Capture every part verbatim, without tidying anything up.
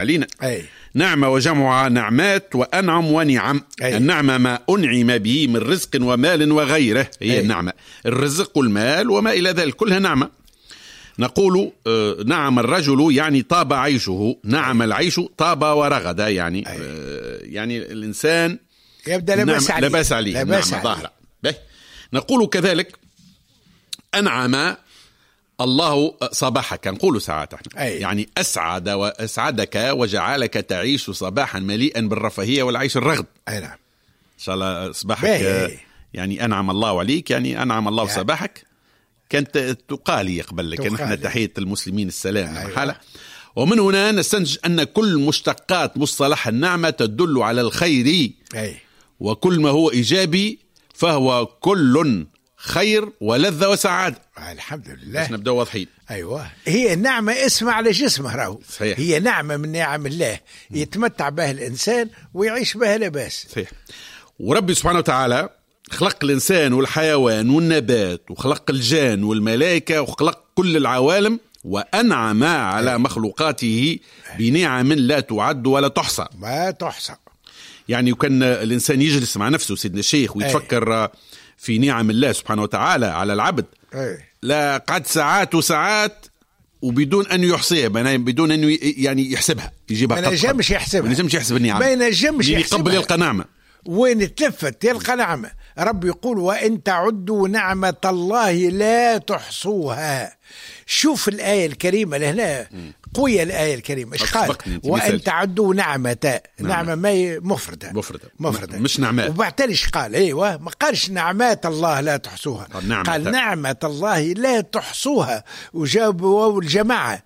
علينا. أي. نعمة وجمعها نعمات وأنعم ونعم. أي. النعمة ما أنعم به من رزق ومال وغيره، هي أي. النعمة، الرزق والمال وما إلى ذلك كلها نعمة. نقول آه، نعم الرجل يعني طاب عيشه، نعم العيش طاب ورغد، يعني أي. آه، يعني الإنسان يبدأ لاباس نعم، عليه، لاباس عليه، لاباس نعم عليه. ظاهرة. به. نقول كذلك أنعم الله صباحك، نقول ساعات احنا. أي. يعني أسعد وأسعدك وجعلك تعيش صباحا مليئا بالرفاهية والعيش الرغد. أي نعم. إن شاء الله صباحك، باهي. يعني أنعم الله عليك، يعني أنعم الله يعني. صباحك. كانت تقالي قبل، كان احنا تقالي. تحية المسلمين السلام. أيوة. حالة. ومن هنا نستنتج أن كل مشتقات مصطلح النعمة تدل على الخير. أي. وكل ما هو إيجابي فهو كل خير ولذة وسعادة. الحمد لله. باش نبداو واضحين. أيوة. هي النعمة اسم على جسمه راهو. صحيح. هي نعمة من نعم الله يتمتع بها الإنسان ويعيش بها لاباس. صحيح. وربي سبحانه وتعالى خلق الإنسان والحيوان والنبات، وخلق الجان والملائكة، وخلق كل العوالم، وأنعم على مخلوقاته بنعم لا تعد ولا تحصى. ما تحصى. يعني وكان الإنسان يجلس مع نفسه سيدنا الشيخ ويتفكر أي. في نعم الله سبحانه وتعالى على العبد، أي. لا قعد ساعات وساعات وبدون أن يحصيها، بدون أن يعني يحسبها، يجيبها ما قد ينجمش قد. يحسبها. ما ينجمش يحسب النعم. ما ينجمش اللي يحسبها. يقبل يلقى نعمة. وين تلفت يلقى نعمة. رب يقول وإن تعدوا نعمة الله لا تحصوها. شوف الآية الكريمة لهنا، قوية الآية الكريمة. إيش قال؟ سبقني أنت، وإن مثال. تعدوا نعمة، نعم. نعمة ما هي مفردة. مفردة. مفردة. مش نعمات. وبعد إيش قال؟ أيوة، ما قالش نعمات الله لا تحصوها. قال نعمة. قال نعمة الله لا تحصوها، وجابوا الجماعة.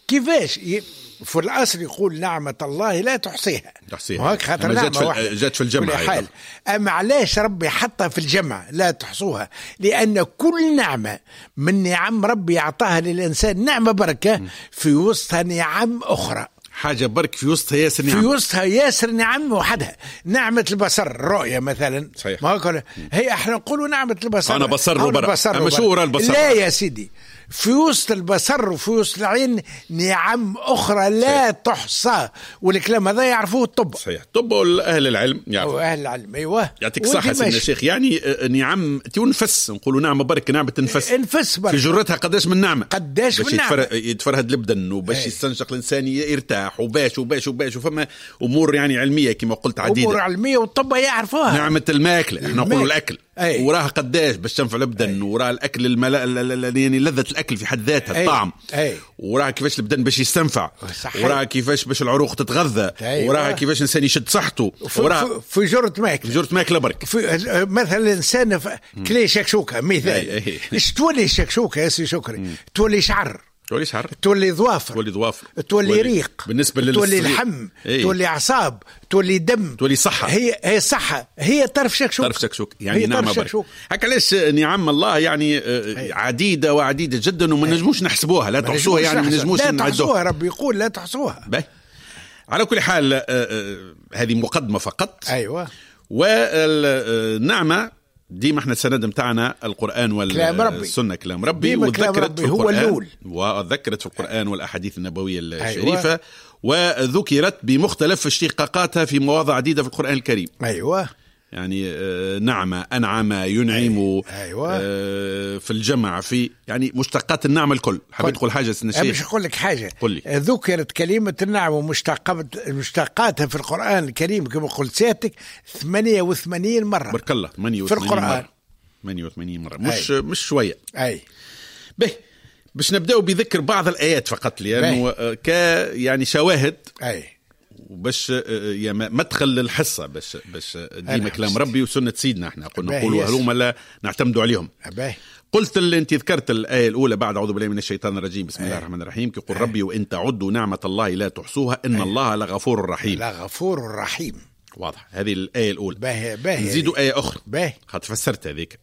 كيفاش؟ ي-، في الأصل يقول نعمة الله لا تحصيها. تحصيها. وهيك خاطر أما جات نعمة في ال- واحدة. جات في الجمع كل أيضا. حال. أما علاش ربي حطها في الجمع لا تحصوها؟ لأن كل نعمة من نعم ربي أعطاها للإنسان نعمة بركة، م. في وسطها نعم أخرى. حاجة برك في وسطها ياسر في نعم. وسطها ياسر نعم وحدها. نعمة البصر، الرؤية مثلا. صحيح. ما هو كل-، هي احنا نقولوا نعمة البصر. أنا بصر أو وبرا. البصر أما شو وبرا. وراء البصر؟ لا يا سيدي، في وسط البصر وفي وسط العين نعم أخرى لا صحيح. تحصى، والكلام هذا يعرفوه الطب. صحيح، الطب والأهل العلم يعرفوا. أهل العلم، أيوة. يعطيك الصحة ودي سيدنا ماشي. الشيخ. يعني، آه، نعم تنفس، نقولوا نعمة برك، نعمة تنفس. انفس برك. في جرتها قداش من نعمة. قداش باش من نعمة. يتفر-، يتفرهد البدن، وباش أي. يستنشق الإنسان يرتاح، وباش وباش وباش، وفما أمور يعني علمية كما قلت عديدة. أمور علمية والطب يعرفوها. نعمة الماكلة، احنا نقولوا الماكلة. الأكل. أي. وراها قداش باش تنفع البدن، أي. وراها الأكل الملا-، ال-، ال-، ال-، يعني لذة الأكل في حد ذاتها، أي. الطعم. أي. وراها كيفاش البدن باش يستنفع. صحيح. وراها كيفاش باش العروق تتغذى. أيوة. وراها كيفاش الإنسان يشد صحته. في- وراها في-، في جرة ماكلة. في جرة ماكلة برك. في-، مثلا الإنسان ف-، مم. كلي شكشوكة مثال. أي، أي. إيش تولي شكشوكة يا سي شكري؟ مم. تولي شعر. تولي شعر. تولي ظوافر. تولي ظوافر. تولي تولي ريق. بالنسبة للصغير. تولي لحم. إيه. تولي أعصاب. تولي دم. تولي صحة. هي، هي صحة. هي طرف شكشوك. طرف شكشوك. يعني هي نعمة طرف برك. شكشوك. هكا علاش نعم الله يعني، آه، أي. عديدة وعديدة جدا، وما أي. نجموش نحسبوها. لا ما تحصوها، نجموش يعني ما نحسبوها. نجموش لا نعدوها. تحصوها، ربي يقول لا تحصوها. باهي. على كل حال، آه، آه، هذه مقدمة فقط. أيوة. والنعمة ديما احنا السند متاعنا القرآن وال- كلام ربي. السنة، كلام ربي. ديما كلام وذكرت ربي في هو القرآن الأول. وذكرت في القرآن والأحاديث النبوية أيوة. الشريفة، وذكرت بمختلف اشتقاقاتها في مواضع عديدة في القرآن الكريم. أيوة. يعني، آه، نعمة، أنعم، ينعم، أيوة. آه، في الجمع، في يعني مشتقات النعمة الكل. حبيت قل. تقول حاجة سيدنا أنا الشيخ؟ باش نقول لك حاجة. قل لي. ذكرت كلمة النعم ومشتقات، مشتقاتها في القرآن الكريم كما قلت سيادتك ثمانية وثمانين مرة. بارك الله، ثمانية في وثمانين القرآن. مرة. ثمانية وثمانين مرة. مش أي. مش شوية. أي. به باش نبداو بذكر بعض الآيات فقط، لأنه، به. آه، ك يعني شواهد. أي. وباش، آه، آه، يا ما-، مدخل للحصة، باش، باش ديما أنا كلام حسيت. ربي وسنة سيدنا، احنا قلنا باهي، نقولوا يس. هلوما لا نعتمدوا عليهم. باهي. قلت اللي انت ذكرت الآية الأولى بعد أعوذ بالله من الشيطان الرجيم، بسم الله أي. الرحمن الرحيم، كيقول أي. ربي وإن تعدوا نعمة الله لا تحصوها إن أي. الله لغفور رحيم. لغفور رحيم. واضح، هذه الآية الأولى. باهي، باهي. نزيدوا آية أخرى. باهي. خاطر فسرت هذيك.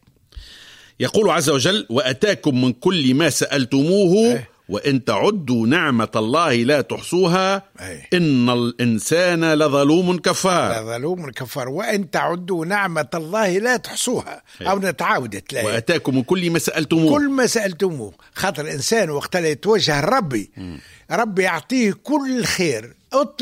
يقول عز وجل وأتاكم من كل ما سألتموه أي. وإن تعدوا نعمة الله لا تحصوها أي. إن الإنسان لظلوم كفار. لظلوم كفار. وإن تعدوا نعمة الله لا تحصوها. أي. أو نتعاود تلاقي. وأتاكم من كل ما سألتموه. كل ما سألتموه. خاطر الإنسان وقت اللي يتوجه ربي، مم. ربي يعطيه كل خير. اطلب.